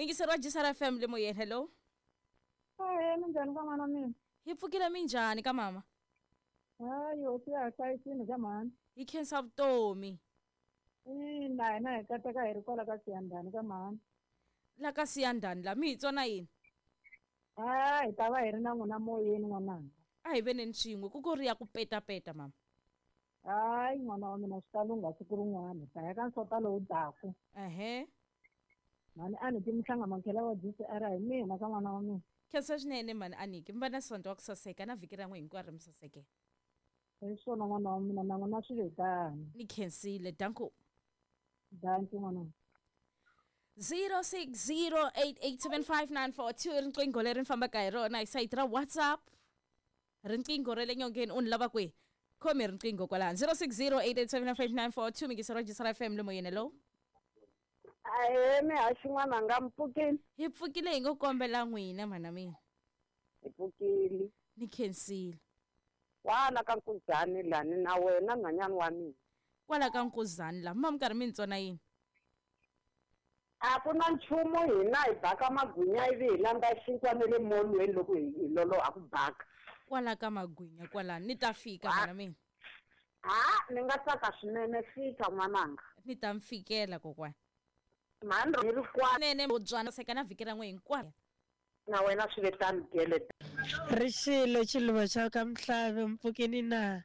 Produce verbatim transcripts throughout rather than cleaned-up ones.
Muyingiseri wa G C R F M le moyeni, hello. Ahee, minjhani ka n'wana mina? Hi pfukile minjhani ka mama? Hayi, hosi ya ha hlayisini ka mhani. Hi khensa vutomi. Ina, hina hi kateka hi ri kwala ka Siyandhani ka mhani. La ka Siyandhani la mi hi tsona yini? Ha, hi ta va hi ri na n'wina moyeni n'wananga. A hi veneni swin'we ku ku ri ya ku petapeta mama. Hayi n'wana wa mina swi ta lungha siku rin'wana, hi ta ya ka nsota lowu daku. Ehe. Mhani a ni ti mihlanga makhela wa G C R hi mina ka n'wana wa mina. Khensa swinene mhani Aniki, mi va na sonto wa ku saseka na vhiki ra n'we hinkwaro mi saseke. Hi swona n'wana wa mina, na n'wina swi ve tano. Ni khensile, danko. Danki n'wana. zero six zero eight eight seven five nine four two riqingho leri ni fambaka hi rona hi sayiti ra WhatsApp. Riqingho ra le nyongeni u ni lava kwihi? Khomi riqingho kwalano zero six zero eight eight seven five nine four two miyingiseri wa G C R F M le moyeni, hello. Ahee, mihaxi n'wananga, mi pfukile? Hi pfukile hi ngo kombela n'wina mhana mina. Hi pfukile. Ni khensile. Kwala ka Nkuzani lani na wena nhwanyana wa mina. Kwala ka Nkuzani la, ma mi karhi mi ni tsona yini? A ku na nchumu, hina hi baka magwinya ivi hi landza xinkwa na le molweni loko hi loloha ku baka. Kwala ka magwinya kwalano ni ta fika mhana mina. Ha, ni nga tsaka swinene, fika n'wananga. Ni ta mi fikela kokwana. Mhani ri ri kwala. Nene bodzwana seka na vhiki ra n'we hinkwaro. Na wena swi ve tano gele. Rixile xiluva xa ka Mhlave, mpfukini na?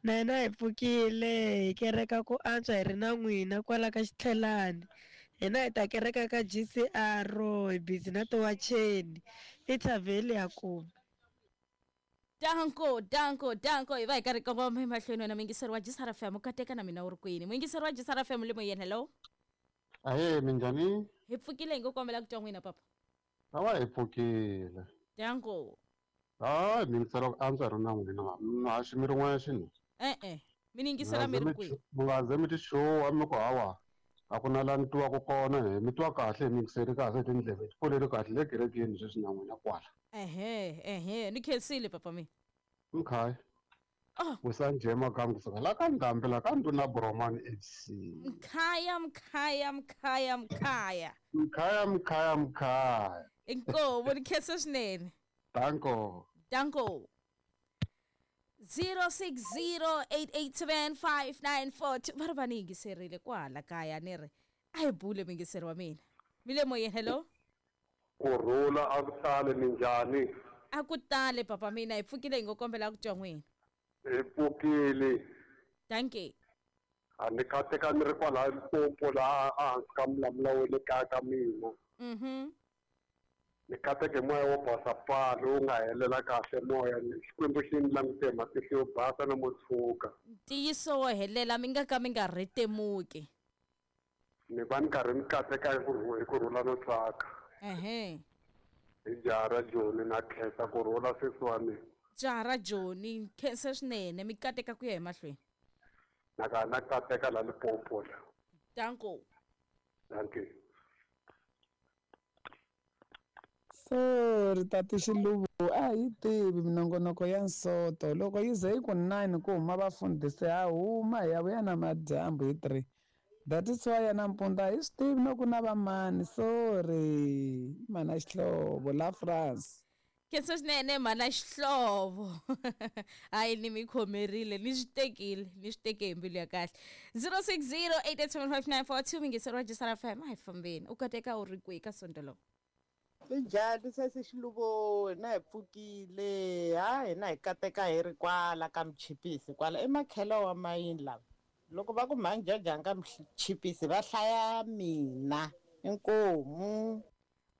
Na hina hi pfukile, hi kereka ku antswa hi ri na n'wina kwala ka Xitlhelani. Hina hi ta kereka ka G C R, hi busy na tiwacheni. I thavheli ya kuma. Danko, danko, danko. Hi va hi karhi kongoma emahlweni wena muyingiseri wa G C R F M, u kateka na mina u ri kwini? Muyingiseri wa G C R F M le moyeni, hello. Ahee, minjhani? Hi pfukile hi ngo kombela ku twa n'wina papa. Awa hi pfukile. Danko. Hayi, mi yingisela ku antswa hi ri na n'wina, muhaxi mi ri n'wexe ni. E-e, mi ni yingisela mi ri kwihi? Mi nga ze mi ti xuwa mi ku hawa a ku na laha ni twiwaka kona he, mi twa kahle, mi yingiseli kahle hi tindleve, ti pfuleli kahle le kerekeni sweswi na n'wina kwala. Ehe, ehe, ni khensile papa mina. Mkhaya. Oh. Wisa njhe makamu kusuka la ka Ndhambi la ka Nduna Bromani F C. Mkhaya, mkhaya, mkhaya, mkhaya. Mkhaya, mkhaya, mkhaya. Inkomo, ni khensa swinene. Danko. Danko. zero six zero eight eight seven five nine four two va ri va ni yingiserile kwala kaya ni ri a hi bule muyingiseri wa mina. Mi le moyeni, hello. Kurhula a ku tale, minjhani? A ku tale papa mina, hi pfukile hi ngo kombela ku twa n'wina. Hi pfukile. Dankie. A ni kateka ni ri kwala Limpopo laha ehansi ka Mulamula wa le kaya ka mina. Mhm. Ni kateke moya wo basa paa lowu nga helela kahle moya, Xikwembu xi ni langute hi matihlo yo basa na mo tshuka. Ntiyiso wo helela mi nga ka mi nga rhetemuki. Ni va ni karhi ni kateka hi ku hi kurhula no tsaka. Ehe. Hi jaha ra Joni na khensa kurhula sesi wa mina. Jaha ra Joni, khensa swinene, mi kateka ku ya emahlweni. Na ka na kateka la Limpopo la. Danko. Dankie. Sorry tati Xiluva, a hi tivi minongonoko ya nsoto. Loko yi ze yi ku nine ku huma vafundhisi ha huma hi ya vuya na madyambu hi three. That is why ya nampundzu a hi swi tivi no ku na vamani. Sorry, mana Xihlovo la France. Khensa swinene mhana Xihlovo. Hayi ni mi khomerile, ni swi tekile, ni swi teke hi mbilu ya kahle. zero six zero eight eight seven five nine four two muyingiseri wa G C R F M, a hi fambeni. U kateka u ri kwihi ka sonto lowu? Minjhani sesi Xiluvo, hina hi pfukile. Ha, hina hi kateka hi ri kwala ka Mchipisi kwala emakhelo wa mayini lava. Loko va ku mhani Jajanga ka Mchipisi va hlaya mina inkomu.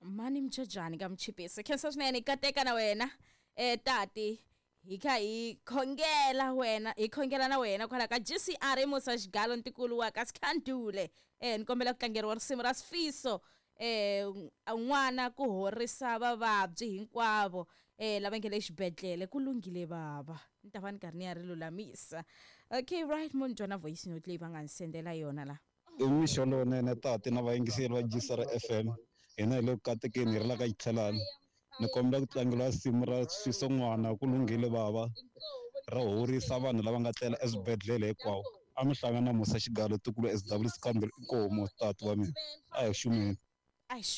Mhani Mjejani ka Mchipisi, khensa swinene, kateka na wena eh tati. Hi kha hi khongela wena, hi khongela na wena kwala ka G C R Musa Xigalo ntikulu wa ka Sikhandule. Eh ni kombela ku tlangeriwa risimu ra Sifiso eh n'wana ku horisa vavabyi hinkwavo eh lava nge le xibedhlele. Ku lunghile baba, ni ta va ni karhi ni ya ri lulamisa. Okay, right, munhu twa na voice note leyi va nga ni sendela yona la. I mixo lowunene tati na vayingiseri va G C R F M. Hina hi le ku katekeni hi ri la ka Xitlhelani. Ni kombela ku tlangeriwa risimu ra Sifiso n'wana ku lunghile baba, ra horisa vanhu lava nga tlela eswibedhlele hinkwawo. A mi hlangana na Musa Xigalo tikulu S W Sikhandle, inkomu tati wa mina. A hi xumeni. A hi